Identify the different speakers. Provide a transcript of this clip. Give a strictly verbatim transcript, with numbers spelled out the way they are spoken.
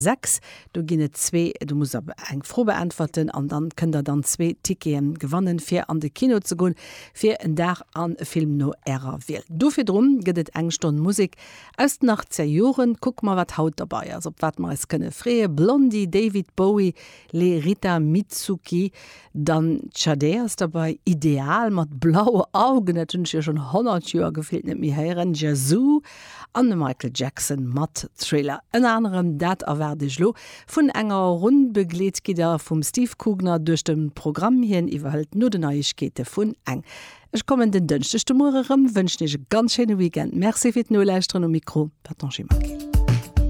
Speaker 1: Sechs. Do ginn et zwee, do musst der eng Fro beäntwerten an dann kënnt der dann zwee Ticketen gewannen fir an de Kino ze goen fir en Dag an e Film no ärer Wiel. Do virdrun gëtt et eng Stonn Musek aus den achtzeger Joren. Kucke mer wat haut derbäi ass, op wat mer eis kënne freeën. Blondie, David Bowie, Les Rita Mitsouki, dann Sade ass derbäi, Ideal mat Blaue Augen, dat hunn ech jo schonn honnert Joer gefillt net méi héieren, Yazoo an de Michael Jackson mat Thriller. Ënner anerem dat erwaart iech lo. Vun enger Runn begleet gitt der vum Steve Kugner duerch de Programm, hien iwwerhëlt no den Neiegkeete vun eng. Ech kommen den Dënschdeg de Muere rëm, wënschen iech e ganz schéine Weekend. Merci fir d'Nolauschteren, um Mikro war d'Angie Maquil.